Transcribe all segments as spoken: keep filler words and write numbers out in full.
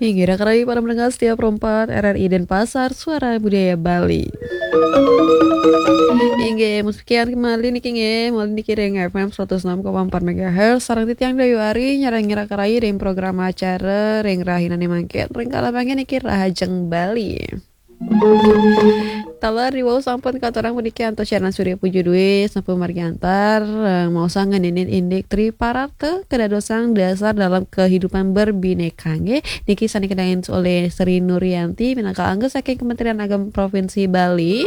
Inggih, raka rayi para pendengar setia Pro empat R R I Denpasar, Suara Budaya Bali. Inggih, sekian kembali niki nggih, malih niki ring F M seratus enam koma empat megahertz, sareng titiang Dayu Ari, nyarengin raka rayi ring program acara, ring rahinane mangkin, ring kala mangkin niki Rahajeng Bali. Taler riwau sampun katurang puniki antos siaran Surya Puja Dwi sampun margi antar, eh, maosang ngeninin indik Tri Pararta kadadosang dasar dalam kehidupan berbineka nggih. Niki sane kadangin olih Sri Nuryanti minangka angga saking Kementerian Agama Provinsi Bali.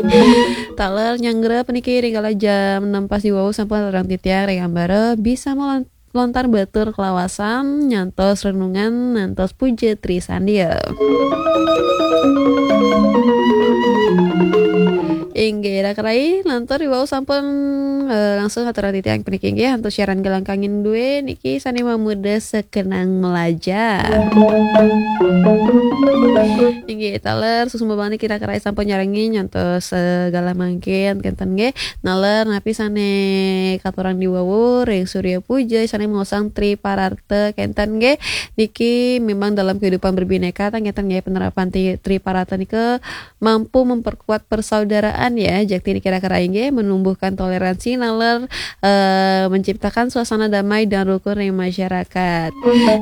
Taler nyanggra puniki ring kala jam enam pas riwau sampun katurang titiang ring ambara bisa melon- lontar batur kalawasan, nyantos renungan, nyantos puja Tri Sandia. Inggih, raka rayi, lantur riwau sampun, eh, langsung aturang titiang puniki inggih, antuk siaran Galang Kangin dua niki sane mamuda sekenang melajah. Inggih, taler suksma banget niki raka rayi sampun nyarengin nyantos, eh, galah mangkin kenten nggih. Naler napi sane katurang diwawu ring Surya Puja sane maosang Tri Pararta kenten nggih. Niki memang dalam kehidupan berbineka ta kenten nggih penerapan tri, Tri Pararta nika mampu memperkuat persaudaraan ya. Jakti niki raka rayi nggih menumbuhkan toleransi naler, eh, menciptakan suasana damai dan rukun ring masyarakat.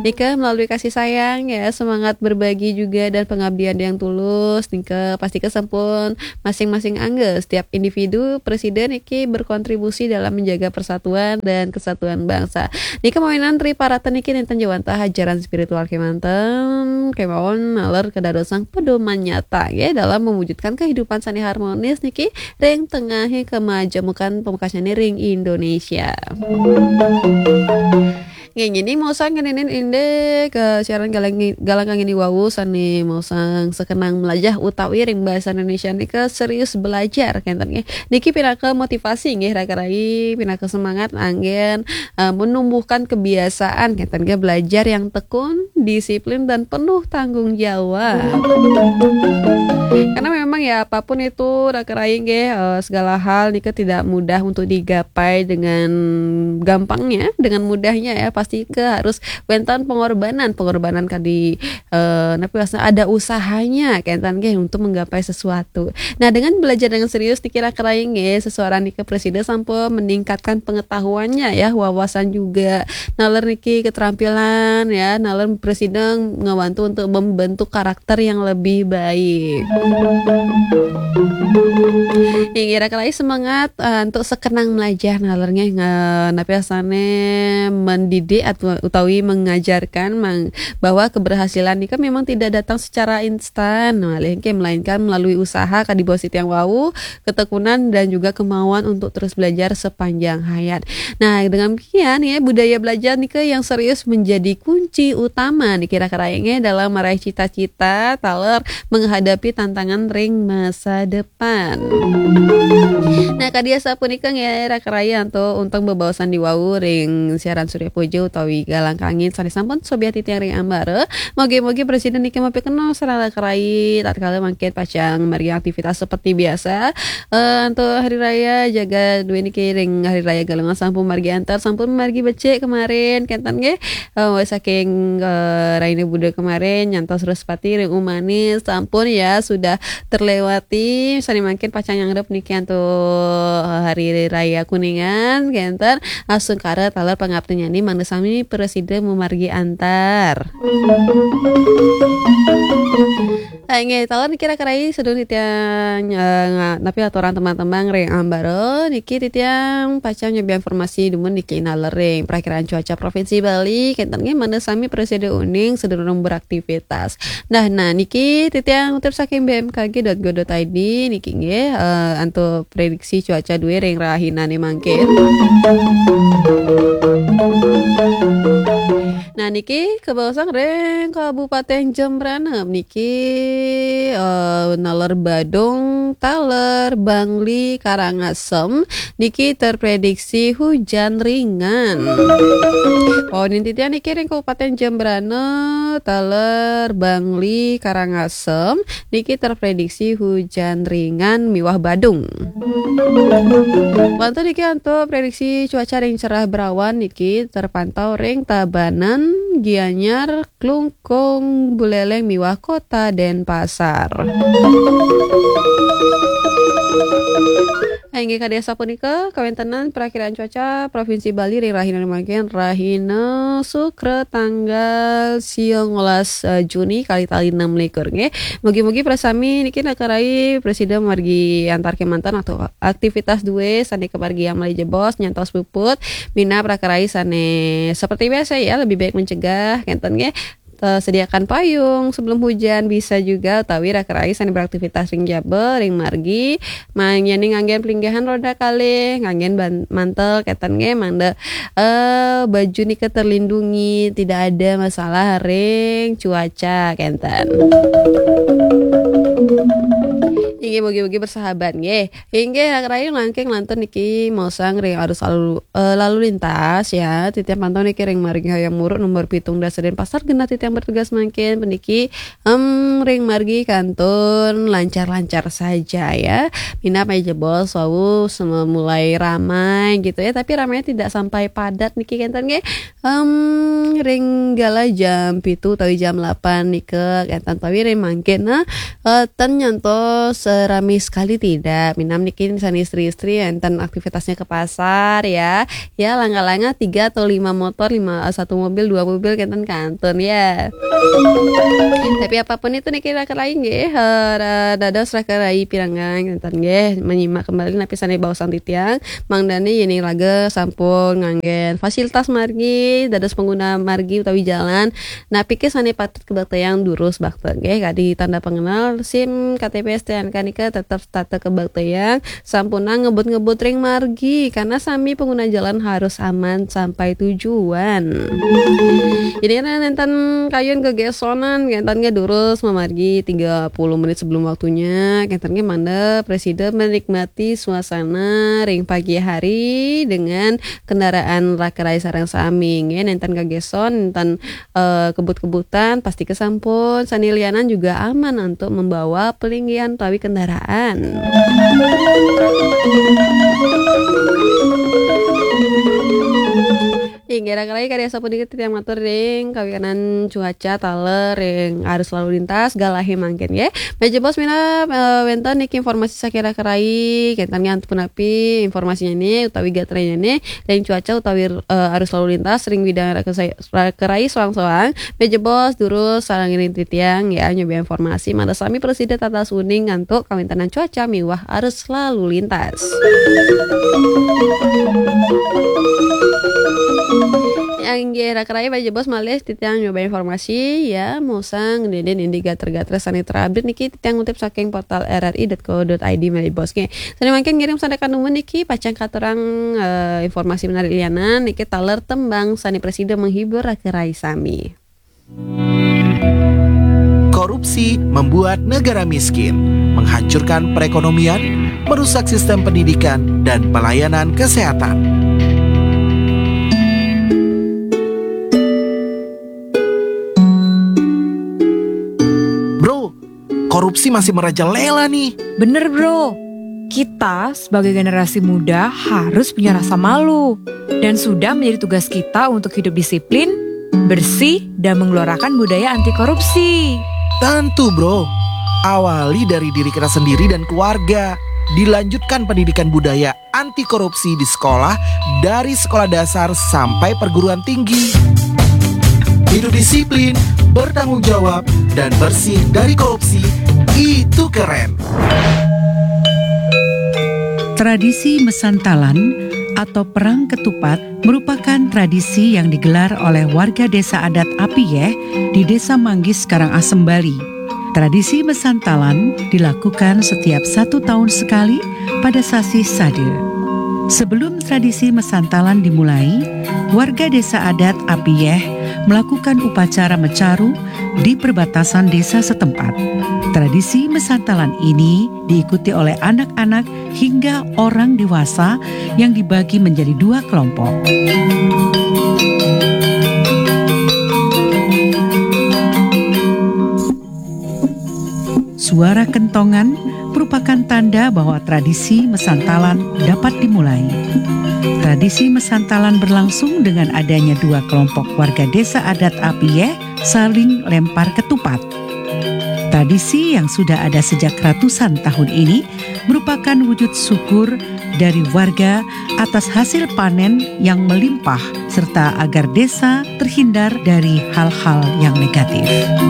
Nika melalui kasih sayang ya, semangat berbagi juga dan pengabdian yang tulus. Nika pasti sampun masing-masing angga, setiap individu, presiden niki berkontribusi dalam menjaga persatuan dan kesatuan bangsa. Nika mawinan Tri Pararta niki nenten jawantah ajaran spiritual kemanten, kemawon naler kadadosang pedoman nyata ya dalam mewujudkan kehidupan sane harmonis niki ring tengahe kemajemukan pamekasnyane ring Indonesia. Nggih, niki maosang ngeninin indik, eh, siaran Galang, Galang Kangin diwawu sane maosang sekenang melajah utawi ring basa Indonesia nika serius belajar kenten nggih. Niki pinaka motivasi nggih raka rayi, pinaka semangat anggen, eh, menumbuhkan kebiasaan kenten nggih belajar yang tekun, disiplin dan penuh tanggung jawab. Karena memang ya apapun itu raka rayi nggih, eh, segala hal nika tidak mudah untuk digapai dengan gampangnya, dengan mudahnya ya. Pasti ke harus wenten pengorbanan, pengorbanan kadi, eh, napi wastan ada usahanya kenten nggih untuk menggapai sesuatu. Nah, dengan belajar dengan serius niki raka rayi nggih, sesuara nika presida sampun meningkatkan pengetahuannya ya, wawasan juga. Naler niki keterampilan ya, naler presida ngebantu untuk membentuk karakter yang lebih baik. Inggih, raka rayi semangat, eh, untuk sekenang melajah naler nggih, nge-, napi wastan mendidik atau utawi mengajarkan mang-, bahwa keberhasilan nika memang tidak datang secara instan, malih nggih, melainkan melalui usaha kadi basa titiang wau, ketekunan dan juga kemauan untuk terus belajar sepanjang hayat. Nah, dengan demikian ya, budaya belajar nika yang serius menjadi kunci utama niki raka rayi nggih dalam meraih cita-cita taler menghadapi tantangan ring masa depan. Nah, kadi asapunika nggih raka rayi antuk untung bebaosan diwawu ring siaran Surya Puja utawi Galang Kangin sane sampun sobiah titiang ring ambara. Mogi-mogi presida niki mapikenoh sareng raka rayi tatkala mangkin pacang margi aktivitas seperti biasa. Eh, antuk hari raya jagat dua niki ring hari raya Galungan sampun margi antar, sampun margi becik kemarin kenten nggih. Eh, saking, eh, raine Buda kemarin nyantos Wrespati ring umane sampun ya sudah terlewati. Sane mangkin pacang nyangrep niki antuk, eh, hari raya Kuningan kenten. Asungkara taler pangaptinyane mangda sami prasida mamargi antar. Ah, inggih, taler niki raka rayi sedurung titiang, eh, nga-, napi aturan tembang-tembang ring ambara niki titiang pacang nyobiahang informasi dumun niki naler ring Prakiraan Cuaca Provinsi Bali kenten nggih mangda sami prasida uning sedurung beraktivitas. Nah, nah niki titiang ngutip saking B M K G dot go dot I D niki nggih, eh, antuk prediksi cuaca dua ring rahinane mangkin. Nah, niki kabaosang ring Kabupaten Jembrana niki, eh, naler Badung, taler Bangli, Karangasem niki terprediksi hujan ringan. Oh, niki titiang niki ring Kabupaten Jembrana, taler Bangli, Karangasem niki terprediksi hujan ringan miwah badung. Lantur niki antuk prediksi cuaca ring cerah berawan niki terpantau ring Tabanan, Gianyar, Klungkung, Buleleng miwah Kota Denpasar. Inggih kadi sapunika kawéntenan perakiraan cuaca Provinsi Bali ring rahina mangkin, rahina Sukra tanggal siangolas, eh, Juni kalih tali enam likur nggih. Mugi-mugi prasami niki nakarai prasida margi antar kémanten atau aktivitas dué sané kamargiang malih jebos nyantos puput minab rakarai sané seperti biasa ya, lebih baik mencegah kénten nggih. Eh, sediakan payung sebelum hujan bisa juga utawi rakarai sané beraktivitas ring jaba, ring margi, mangyaning nganggén pelinggihan roda kalih, nganggén ban-, mantel kénten nggih, mangda eh, baju nika terlindungi, tidak ada masalah ring cuaca kénten. Inggih, mugi-mugi bersahabat nggih. Inggih, rakarai langkung lantur niki maosang ring arus lalu, eh, lalu lintas ya. Titiang pantau niki ring margi Hayam Wuruk nomor pitung dasa Denpasar genah titiang bertugas mangkin puniki, em, ring margi kantun lancar-lancar saja ya. Minab malih jebos wau mulai ramai gitu ya, tapi ramainya tidak sampai padat niki kénten nggih. Em, ring galah jam pitu utawi jam delapan nika kénten utawi ring mangkin, nah, eh, ten nyantos, eh, rame sekali tidak. Minab niki sané istri-istri énten aktivitasnya ke pasar ya. Ya, langkah-langkah tiga atau lima motor, lima, eh, satu mobil, dua mobil kénten kantun ya. Tapi apapun itu niki rakarai nggih, eh, ra-, dados rakarai pirengang kénten nggih, menyimak kembali napi sané baosang titiang, mangdané yéning raga sampun nganggén fasilitas margi, dados pengguna margi utawi jalan, napi ké sané patut kabaktayang durus bakta nggih, kadi tanda pengenal, SIM, K T P, S T N K nika tetep setata kabaktayang, sampunang ngebut-ngebut ring margi, karena sami pengguna jalan harus aman sampai tujuan. Jadi, nah, nénten kayun gegésonan, kénten nggih durus mamargi tiga puluh menit sebelum waktunya, kénten nggih mangda prasida menikmati suasana ring pagi hari dengan kendaraan rakarai sareng sami nggih, nénten gegéson, nénten eh, kebut-kebutan, pasti kesampun. Sané lianan juga aman untuk membawa pelinggihan utawi kendaraan. Inggih, rakarai kadi asapunika titiang matur ring kawikanan cuaca taler ring arus lalu lintas galahé mangkin nggih. Malih jebos minab, eh, wénten niki informasi saking rakarai, kénten nggih ampun napi informasinyané utawi gatranyané ring cuaca utawi, eh, arus lalu lintas ring bidang raka-, rakarai soang-soang. Malih jebos durus sareng ring titiang ya nyoba informasi mangda sami prasida tatas uning antuk kawéntenan cuaca miwah arus lalu lintas. Inggih, rakarai malih jebos malih titiang nyoba informasi ya, maosang ngendén indik gatra-gatra sané terupdate niki titiang ngutip saking portal R R I dot co dot I D malih jebos nggih. Sané mangkin ngiring sandekan dumun niki pacang katurang, eh, informasi menarik lianan niki taler tembang sané prasida menghibur rakarai sami. Korupsi membuat negara miskin, menghancurkan perekonomian, merusak sistem pendidikan dan pelayanan kesehatan. Bro, korupsi masih merajalela nih. Bener, Bro. Kita sebagai generasi muda harus punya rasa malu. Dan sudah menjadi tugas kita untuk hidup disiplin, bersih, dan menggelorakan budaya anti korupsi. Tentu, Bro. Awali dari diri kita sendiri dan keluarga. Dilanjutkan pendidikan budaya anti korupsi di sekolah, dari sekolah dasar sampai perguruan tinggi. Hidup disiplin, bertanggung jawab, dan bersih dari korupsi, itu keren. Tradisi Mesantalan atau Perang Ketupat merupakan tradisi yang digelar oleh warga Desa Adat Apiyeh di Desa Manggis, Karangasem, Bali. Tradisi Mesantalan dilakukan setiap satu tahun sekali pada sasih Sade. Sebelum tradisi Mesantalan dimulai, warga Desa Adat Apiyeh melakukan upacara mecaru di perbatasan desa setempat. Tradisi Mesantalan ini diikuti oleh anak-anak hingga orang dewasa yang dibagi menjadi dua kelompok. Suara kentongan merupakan tanda bahwa tradisi Mesantalan dapat dimulai. Tradisi mesantalan berlangsung dengan adanya dua kelompok warga desa adat Apieh saling lempar ketupat. Tradisi yang sudah ada sejak ratusan tahun ini merupakan wujud syukur dari warga atas hasil panen yang melimpah, serta agar desa terhindar dari hal-hal yang negatif.